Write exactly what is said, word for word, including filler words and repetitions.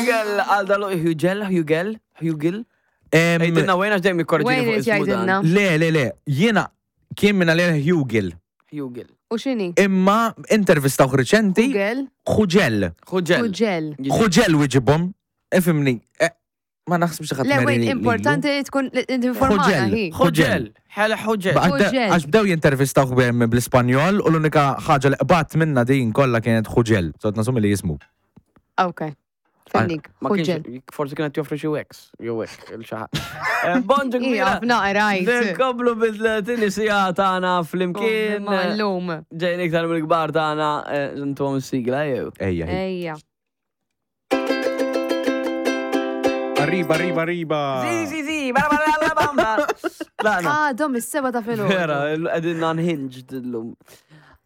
Hugel għal dalu Hugel, Hugel, Hugel. Em, Għidilna wejn għax dejjem jikkorġini Wayne fuq irid ismu dan. jgħidilna. Le, le, le, jiena kien minna li Hugel. Hugel. U x'inhi? Imma intervistawh reċenti, Google, Hugel. Hugel. Hugel. Hugel wieġibhom, ifimni, eh, ma naħsibx ħadd Le, meri wait, lilu. importanti li tkun li tinformana Hugel. hi. Hugel. Ħela Hugel. Ba- għadde- Hugel. Għax bdew jintervistawh bem bl-Ispanjol u l-unika ħaġa li qbat minna din kollha kienet Hugel. Sot nasumi li jismu. Ok. Fennik, Ma Hugel. kienx, forsi kienet joffri xi wax, jew hekk, il xi ħadd. Eh, Bonġu Ija, kbira. f'naqra, rajt. Nkomplu bil-tini sija tagħna flimkien. Ma l-lum. Ġejn iktar mill-kbar tagħna eh, intuhom is-sigla jew. Ejja. hi. Ejja. Arriba, arriba, arriba. Si, si, si, bara bara bara bamba. Tlaqna. Ah, dom is-seba ta' filgħodu. Vera, qegħdin unhinged illum.